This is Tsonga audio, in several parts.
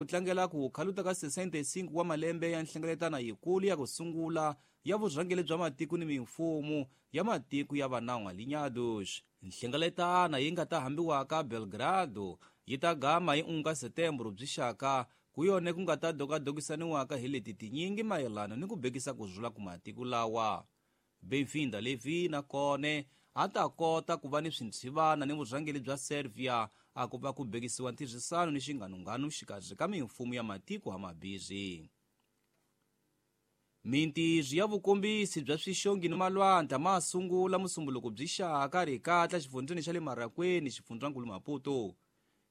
ku tlangela ku khaluta ka 65 wa malembe ya nhlengeletano yikulu ya ku sungula ya vurhangeri bya matiko ni mimfumo ya matiko ya vanawu Alinhados. Nhlengeletano yi nga ta hambiwaka Belgrado yi ta gama hi 1 ka Setembro byi xaka ku yone ku nga ta dokadokisaniwaka hi leti tinyingi mayelana ni ku bekisa ku rhula ku matiko lawa. Benvinda Levi na kone a ta kota ku va ni swintshivana ni vurhangeri bya Servia a ku va ku bekisiwa ntirhisano ni xinganunganu xikarhi ka mimfumo ya matiko hamabirhi. Mintirho ya vukombisi bya swixongi ni malwandla ma sungula musumbuluko byi xaka rikatla xifundzeni xa le Marakweni xifundzankulu Maputo.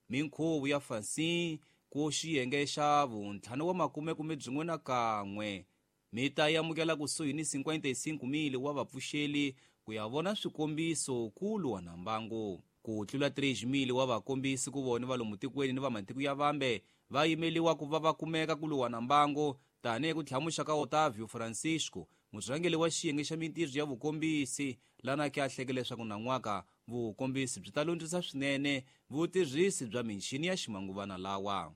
Minkhuvo ya fansi ku xiyenge xa vuntlhanu wa makume kume byin'we na kan'we mi ta amukela kusuhi ni 55,000 wa vapfuxeli ku ya vona swikombiso kulu wa na mbangu. Ku tlula 3,000 wa vakombisi ku vona va lomu tikweni ni va matiko ya vambe va yimeliwa ku va va kumeka ku luwa na mbangu tanihi ku tlhamuxa ka Otávio Francisco, murhangeri wa xiyenge xa mintirho ya vukombisi, lana ke a hleke leswaku nan'waka vukombisi byi ta lundzisa swinene vutirhisi bya michini ya ximanguvana lawa.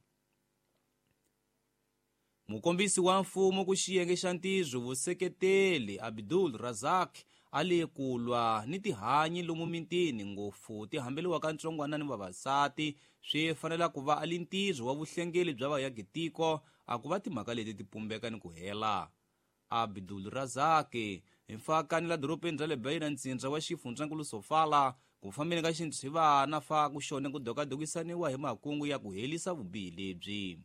Mukombisi wa mfumo ku xiyenge xa ntirho vuseketeli Abdul Razak a le ku lwa ni tihanyi lomu mitini ngopfu ti hambeliwaka ntsongwana ni vavasati swi fanela ku va a li ntirho wa vuhlengeli bya vayakitiko a ku va timhaka leti ti pumbeka ni ku hela. Abdul Razak hi mfakani la dorobeni ra le Beira ntsindza wa xifundzankulu Sofala ku fambeni ka xintshivana fa ku xone ku dokadokisaniwa hi makungu ya ku helisa vubihi lebyi.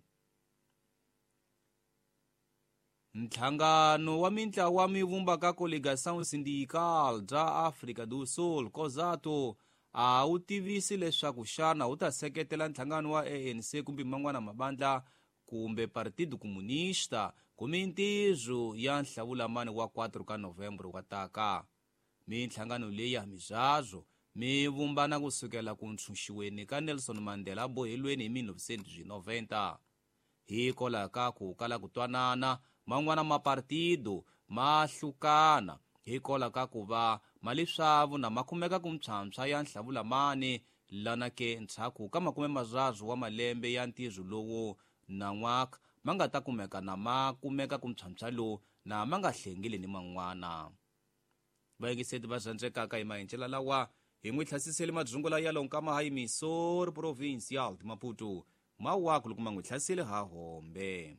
Nhlangano wa mintlawa mi vumbaka Coligação Sindical bya Afrika do Sul COSATU a wu tivisi leswaku xana wu ta seketela nhlangano wa ANC kumbe man'wana mabandla kumbe Partido Comunista ku mintirho ya nhlawulamani wa 4 ka Novembro wa taka. Minhlangano leyi ya mizazwo mi vumbana kusukela ku ntshunxiweni ka Nelson Mandela bohelweni hi 1990. Hikwalaho ka ku kala ku twanana man'wana mapartido ma hlukana hikwalaho ka ku va mali swavu na ma kumeka ku mpshampsha ya nhlawulamani lana ke ndzhaku ka makume mararu wa malembe ya ntirho lowu nan'waka ma nga ta kumeka na ma kumeka ku mpshampsha lowu na ma nga hlengeli ni man'wana. Vayingiseti va rhandzekaka hi maendlelo lawa hi n'wi hlasiseli madzungula ya lonkama ha Missouri Provincial de Maputo mawaku loko ma n'wi hlaseli ha hombe.